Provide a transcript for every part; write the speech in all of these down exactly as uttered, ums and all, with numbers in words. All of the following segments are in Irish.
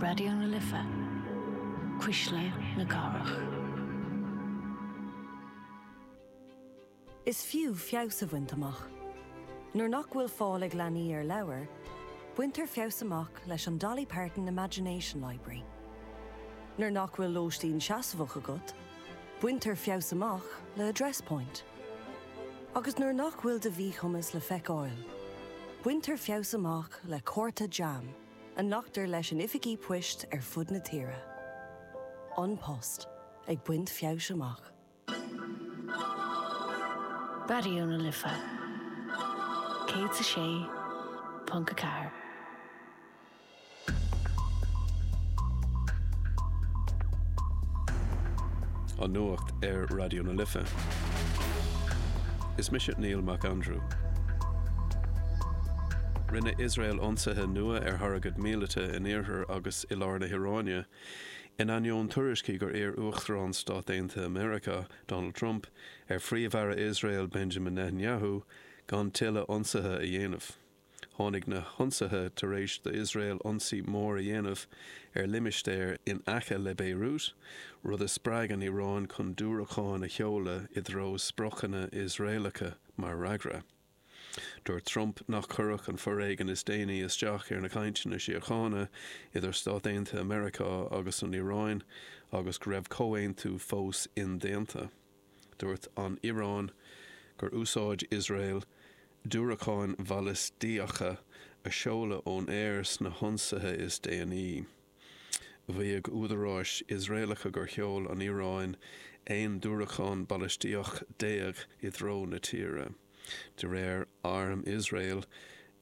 Raidió na Life, Cuisle na Cathrach. Is fiú feabhas a bhaint amach. Nuair nach bhfuil fáil ag leanaí ar leabhair, baintear feabhas amach leis an Dolly Parton Imagination Library. Nuair nach bhfuil lóistín seasmhach agat, baintear feabhas amach le Address Point. Agus nuair nach bhfuil do mhíchumas le feiceáil, baintear feabhas amach le cárta JAM a nglactar leis in oifigí poist ar fud na tíre. An Post ag baint feabhais amach. Raidió na Life céad a sé ponc a ceathair. An nuacht ar Raidió na Life. Is mise Neil Mac Andrew. Rinne Iosrael ionsaithe nua ar thargaid míleata in iarthar agus i lár na hIaráine, in ainneoin tuairiscí gur iarr Uachtarán Stát Aontaithe Meiriceá, Donald Trump, ar Phríomh-Aire Iosrael Benjamin Netanyahu gan tuilleadh ionsaithe a dhéanamh. Tháinig na hionsaithe tar éis d'Iosrael ionsaí mór a dhéanamh ar limistéar in aice le Beirut, rud a spreag an Iaráin chun diúracáin a sheoladh i dtreo spriocanna Iosraelacha mar fhreagra. Dúirt Trump nach gcuirfeadh an foréigean is déanaí isteach ar na cainteanna síochána idir Stáit Aontaithe Meiriceá agus an Iaráin agus go raibh comhaontú fós indéanta. Dúirt an Iaráin gur úsáid Iosrael diúracáin bhalaistíocha a seoladh ón aer sna hionsaithe is déanaí. Mhaígh údaráis Iosraelacha gur sheol an Iaráin aon diúracán balaistíoch déag i dtreo na tíre. De réir Arm Iosrael,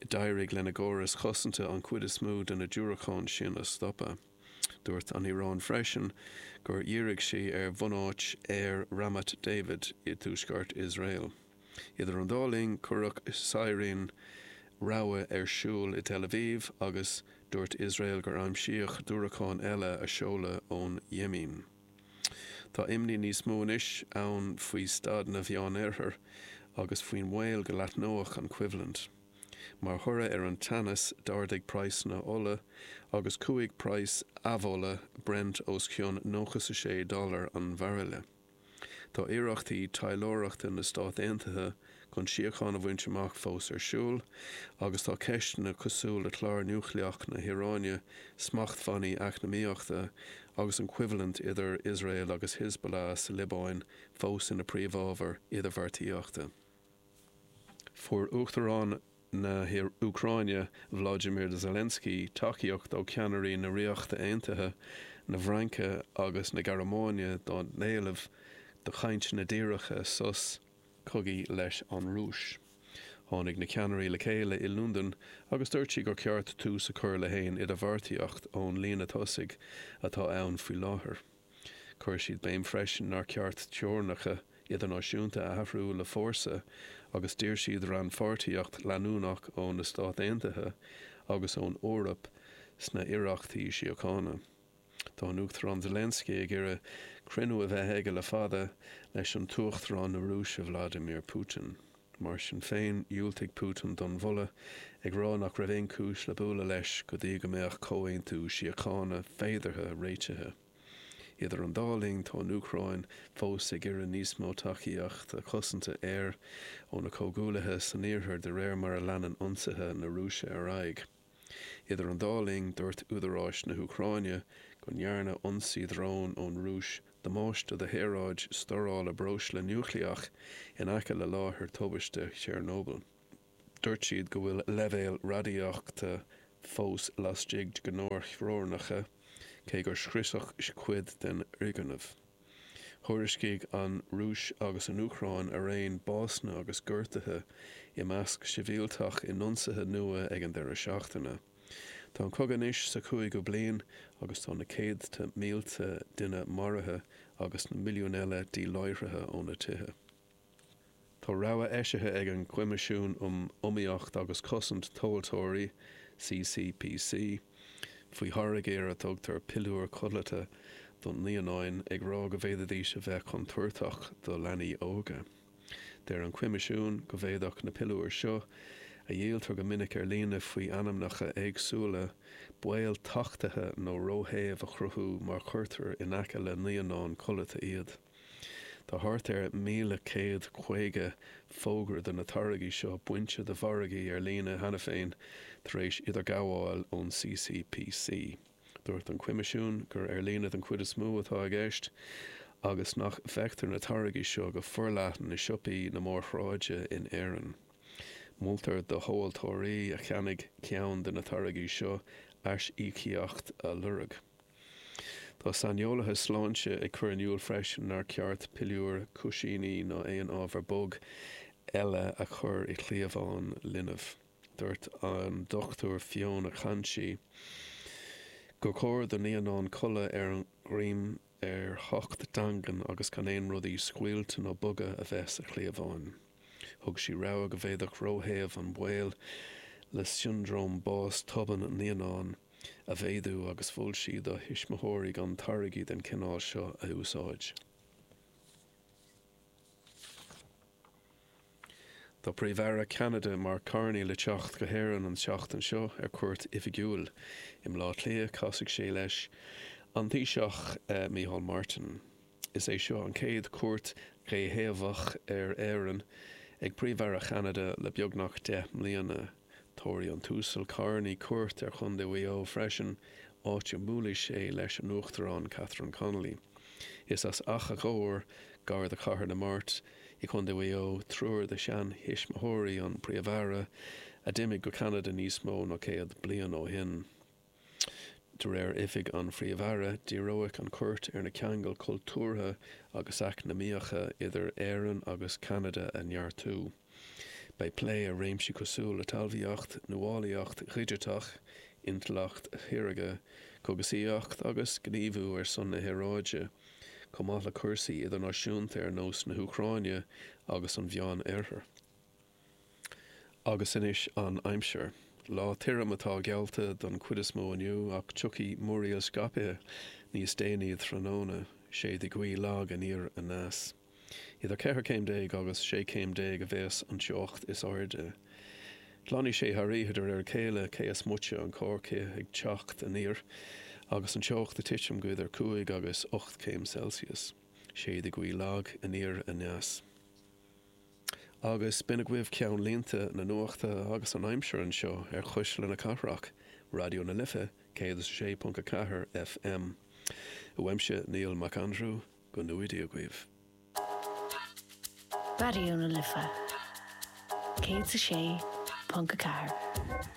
d'éirigh lena gcórais chosanta an chuid is mó de na diúracáin sin a stopadh. Dúirt an Iaráin freisin gur dhírigh sí ar bhunáit aeir Ramat David i dtuaisceart Iosrael. Idir an dá linn, cuireadh saighréin rabhaidh ar siúl i Tel Aviv agus dúirt Iosrael gur aimsíodh diúracán eile a seoladh ón Yemen. Tá imní níos mó anois ann faoi staid na Mheánoirthear agus faoin mbaol go leathnódh an choimhlint. Mar thoradh ar an teannas, d'ardaigh praghsanna ola agus chuaigh praghas amhola Brent os cionn nócha is a sé dollar an bhairille. Tá iarrachtaí taidhleoireachta na Stát Aontaithe chun síocháin a bhaint amach fós ar siúl, agus tá ceisteanna cosúil le clár núicléach na hIaráine, smachtbhannaí eacnamaíochta agus an choimhlint idir Iosrael agus Hezbollah sa Liobáin fós ina bpríomhábhair idirbheartaíochta. Fuair Uachtarán na hÚcráine Volodymyr Zelensky tacaíocht ó cheannairí na Ríochta Aontaithe, na Fraince agus na Gearmáine dá n-éileamh do chainteanna díreacha sos cogaidh leis an Rúis. Tháinig na ceannairí le chéile i Londain agus dúirt siad gur ceart tús a chur le haon idirbheartaíocht ón líne tosaigh atá ann faoi láthair. Chuir siad béim freisin nár cheart teorainneacha idirnáisiúnta a athrú le fórsa agus d'iarr siad rannpháirtíocht leanúnach ó na Stáit Aontaithe agus ón Eoraip sna hiarrachtaí síochána. Tá an Uachtarán Zelensky ag iarraidh cruinniú a bheith aige le fada leis an tUachtarán na Rúise Vladimir Putin. Mar sin féin, dhiúltaigh Putin don mholadh, ag rá nach raibh aon chúis le bualadh leis go dtí go mbeadh comhaontú síochána féideartha réitithe. Idir an dá linn, tá an Úcráin fós ag iarraidh níos mó tacaíochta cosanta aeir óna comhghuaillithe san iarthar de réir mar a leanann ionsaithe na Rúise ar aghaidh. Idir an dá linn, dúirt údaráis na hÚcráine go ndearna ionsaí drón ón Rúis damáiste do shaoráid stórála breosla núicléach in aice le láthair tubaiste Chernobyl. Dúirt siad go bhfuil leibhéil radaíochta fós laistigh de ghnáth-theorainneacha, cé gur scriosadh cuid den fhoirgneamh. Thuairiscigh an Rúis agus an Úcráin araon básanna agus gortuithe i measc sibhialtach in ionsaithe nua ag an deireadh seachtaine. Tá an cogadh anois sa chúigiú bliain agus tá na céadta mílte duine maraithe agus na milliúin eile díláithrithe óna dtithe. Tá rabhadh eisithe ag an gCoimisiún um Iomaíocht agus Cosaint Tomhaltóirí, CCPC, faoi tháirgí ar a dtugtar piliúir codlata do naíonáin, ag rá go bhféadfaidís a bheith contúirteach do leanaí óga. Deir an Coimisiún go bhféadfadh na piliúir seo, a dhíoltar go minic ar líne faoi ainmneacha éagsúla, baol tachtaithe nó róthéimh a chruthú má chuirtear in aice le naíonáin codlata iad. Tá thart ar míle céad caoga fógra de na táirgí seo bainte de mhargaí ar líne cheana féin tar éis idirghabháil ón CCPC. Dúirt an Coimisiún gur ar líne den chuid is mó atá i gceist agus nach bhfeictear na táirgí seo go forleathan i siopaí na mórshráide in Éirinn. Moltar do thomhaltóirí a cheannaigh ceann de na táirgí seo aisíocaíocht a lorg. Tá saineolaithe sláinte ag cur in iúl freisin nár cheart piliúir, cúisíní ná aon ábhar bog eile a chur i gcliabhán linbh. Dúirt an Dochtúir Fiona Clanchy gur chóir do naíonáin codladh ar a ndroim ar thocht daingean agus gan aon rudaí scaoilte nó boga a bheith sa chliabhán. Thug sí rabhadh go bhféadfadh róthéamh an baol le siondróm bás tobann naíonán a mhéadú agus mhol sí do thuismitheoirí gan táirgí den chineál seo a úsáid. Tá Príomh-Aire Cheanada Mark Carney le teacht go hÉirinn an tseachtain seo ar cuairt oifigiúil. I mBleá Cliath casfaidh sé leis an Taoiseach Micheál Martin. Is é seo an chéad chuairt dhéthaobhach ar Éirinn ag Príomh-Aire Cheanada le beagnach deich mbliana. Tabharfaidh an tUasal Carney cuairt ar Chontae Mhaigh Eo freisin, áit a mbuailfidh sé leis an Uachtarán Catherine Connolly. Is as Achadh Ghobhair, gar do Chathair na Mart, i gContae Mhaigh Eo, triúr de sheantuismitheoirí an Phríomh-Aire, a d'imigh go Ceanada níos mó ná céad bliain ó shin. De réir Oifig an Phríomh-Aire, díreoidh an chuairt ar na ceangail chultúrtha agus eacnamaíocha idir Éirinn agus Ceanada a neartú. Beidh plé ar réimsí cosúil le talmhaíocht, nuálaíocht dhigiteach, intleacht shaorga, cógaisíocht agus gníomhú ar son na haeráide, chomh maith le cúrsaí idirnáisiúnta ar nós na hÚcráine agus an Mheánoirthir. Agus anois an aimsir. Lá tirim atá geallta don chuid is mó inniu ach tiocfaidh múraíl scaipthe níos déanaí tráthnóna, séidfidh gaoth lag aniar aneas. Idir ceithre céim déag agus sé chéim déag a bheas an teocht is airde. Glanfaidh sé thar oíche de réir a chéile, cé is moite an corrchith ag teacht aniar agus an teocht ag titim go idir cúig agus ocht céim Celsius. Séidfidh gaoth lag aniar aneas. Agus b'in agaibh ceannlínte na nuachta agus an aimsir anseo ar Chuisle na Cathrach, Raidió na Life céad is a sé ponc a ceathair FM. Uaimse Niall Mac Aindriú, go ngnóthaí Dia agaibh. Raidió na Life céad is a sé ponc a ceathair.